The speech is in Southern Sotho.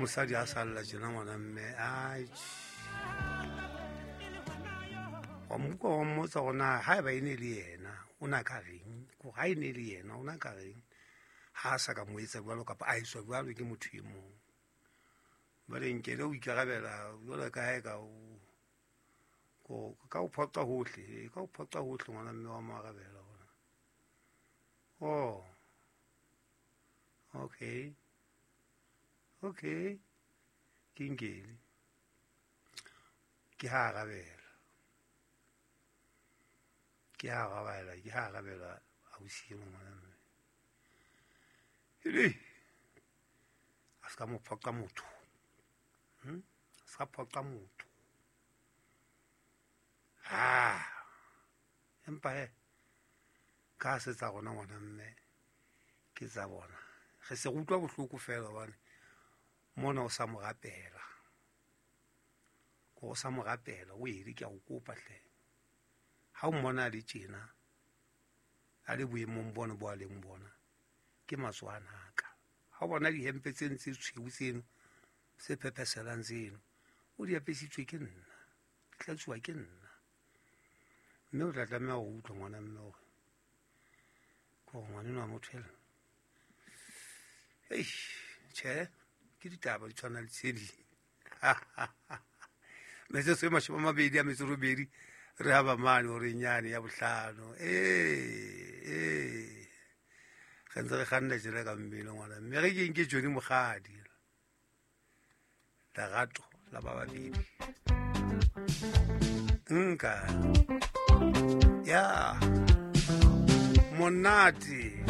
Mosadi a salla tjena, ngwana mme, ai, wa mmuka, wa mmotsa gore na ha eba e ne le yena o na ka reng, kore ha e ne le yena o na ka reng ha a sa ka mo etsa jwalo kapa a etswa jwalo ke motho e mong. Jwale Nkele o ikarabela jwalo ka ha e ka ka o phoqa hohle, ka o phoqa hohle, ngwana mme wa mo arabela hona. Oh, okay, ke Nkele ke ha arabela, ke ha arabela, ke ha arabela ausi eno, ngwana mme, ele a se ka mo phoqa motho, A se ka phoqa motho. Ah, empa he ka se tsa rona, ngwana mme, ke tsa bona, re se re utlwa bohloko fela hobane mona o sa mo rapela, ko o sa mo rapela o ele. Ke a o kopa hle, ha o mmona a le tjena, a le boemong bona bo a leng bona, ke matswana a ka. Ha o bona dihempe tseno tse tshweu tseno se phepheselang tseno, o di apesitswe ke nna, di tlatsuwa ke nna, mme o tla tlameha ho utlwa, ngwana mme, hore ke hore ngwaneno wa motho ela. Ei, tjhe, ke ditaba di tshwana le tse ding. Metsotso e 28 re haba mane horeng yane ya bohlano. Ee, re ntse re kganna tjena ka mmele, ngwana mme, re keng ke Johnny Mokgadi, Lerato la ba babedi nka ya monate.